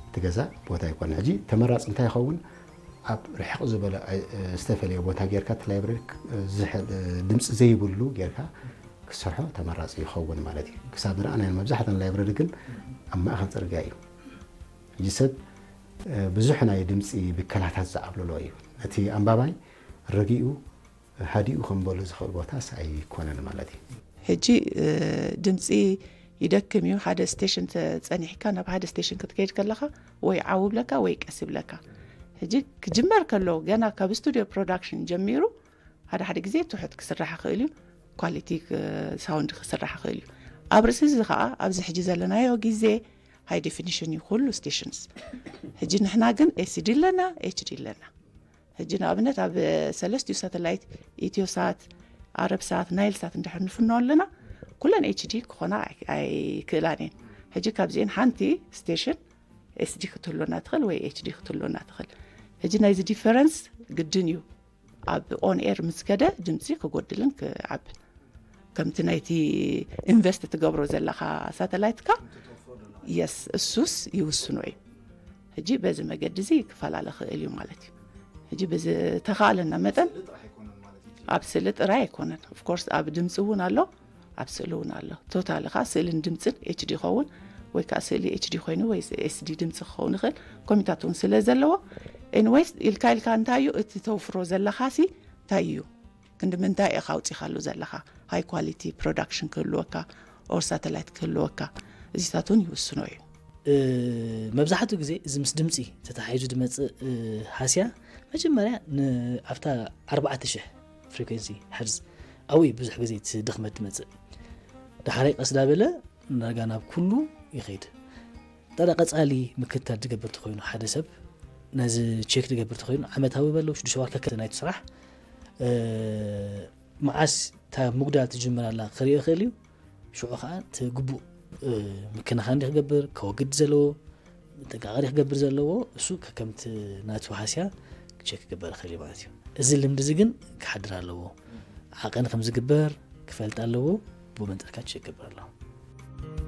እቲ ገዛ ቦታ ኣይኮነ። ሕጂ ተመራፂ እንታይ ይኸውን? ኣብ ርሕቕ ዝበለ ዝተፈለየ ቦታ ጌርካ እቲ ላይብረሪ ድምፂ ዘይብሉ ጌርካ ክሰርሖ ተመራፂ ይኸውን ማለት እዩ። ክሳብ ዝረኣናዮ መብዛሕተን ላይብረሪ ግን ኣብ ማእኸል ፅርግያ እዩ። ሕጂ ሰብ ብዙሕ ናይ ድምፂ ብከላታት ዝዓብልሎ እዩ። ነቲ ኣንባባይ ረጊኡ ሃዲኡ ከንበሉ ዝኽእል ቦታስ ኣይኮነን ማለት እዩ። ሕጂ ድምፂ ይደክም እዩ። ሓደ ስቴሽን ጸኒሕካ ናብ ሓደ ስቴሽን ክትከይድ ከለኻ ወይ ዓው ብለካ ወይ ቀስ ብለካ። ሕጂ ክጅመር ከሎ ገና ካብ ስቱዲዮ ፕሮዳክሽን ጀሚሩ ሓደ ሓደ ግዜ ትሑት ክስራሕ ይኽእል እዩ። ኳሊቲ ሳውንድ ክስራሕ ይኽእል እዩ። ኣብ ርእሲ እዚ ከዓ ኣብዚ ሕጂ ዘለናዮ ግዜ ሃይ ዴፊኒሽን እዩ ኩሉ ስቴሽንስ። ሕጂ ንሕና ግን ኤስዲ ኣለና፣ ኤችዲ ኣለና። ሕጂ ንኣብነት ኣብ ሰለስቲኡ ሳተላይት ኢትዮሳት፣ ኣረብሳት፣ ናይልሳት እንድሕር ንፍኖ ኣለና ኩለን ኤችዲ ክኾና ኣይክእላን እየን። ሕጂ ካብዚአን ሓንቲ ስቴሽን ኤስዲ ክትህሎና ትኽእል ወይ ኤችዲ ክትህሎና ትኽእል። ሕጂ ናይዚ ዲፈረንስ ግድን እዩ። ኣብ ኦን ኤር ምስ ከደ ድምፂ ክጎድልን ክዓብን ከምቲ ናይቲ ኢንቨስት ትገብሮ ዘለኻ ሳተላይትካ የስ እሱስ ይውስኖ እዩ። ሕጂ በዚ መገዲ እዚ ክፈላለ ክእል እዩ ማለት እዩ። ሕጂ ብዝተኻእለና መጠን ኣብ ስእሊ ጥራይ ኣይኮነን። ኦፍኮርስ ኣብ ድምፂ እውን ኣሎ፣ ኣብ ስእሊ እውን ኣሎ። ቶታሊ ከዓ ስእልን ድምፅን ኤችዲ ይኸውን ወይ ከዓ ስእሊ ኤችዲ ኮይኑ ወይ ኤስዲ ድምፂ ክኸውን ይኽእል። ኮሚታት እውን ስለ ዘለዎ ኤኒዌይስ ኢልካ ኢልካ እንታይ እዩ እቲ ተውፍሮ ዘለኻ ሲ እንታይ እዩ ክንዲ ምንታይ ኢኻ ኣውፂኻሉ ዘለኻ ሃይ ኳሊቲ ፕሮዳክሽን ክህልወካ ኦር ሳተላይት ክህልወካ እዚታት እውን ይውስኖ እዩ። መብዛሕትኡ ግዜ እዚ ምስ ድምፂ ተተሓሒዙ ዝመፅእ ሃስያ መጀመርያ ኣብታ ኣርባዕተ ሽሕ ፍሪኩንሲ ሄርዝ ኣብኡ ብዙሕ ግዜ እቲ ድኽመት ትመፅእ። ዳሕራይ ቀስ ዳበለ ዳርጋ ናብ ኩሉ ይኸይድ። ጠረ ቀፃሊ ምክትታል ዝገብር ተኮይኑ ሓደ ሰብ ነዚ ቼክ ዝገብር ተኮይኑ ዓመታዊ በለው ሽዱሽተ ወርሒ ከከ ናይቲ ስራሕ መዓስ እታ ምጉዳል ትጅምር ኣላ ክርኢ ይኽእል እዩ። ሽዑ ከዓ እቲ ግቡእ ምክንኻን ክገብር ከወግድ ዘለዎ ጥንቃቐ ክገብር ዘለዎ እሱ ከከምቲ ናቱ ሃስያ ቼክ ክግበር ይኽእል እዩ ማለት እዩ። እዚ ልምዲ እዚ ግን ክሓድር ኣለዎ። ዓቐን ከም ዝግበር ክፈልጥ ኣለዎ። ብኡ መንጠርካ ቼክ ክገብር ኣለዎ።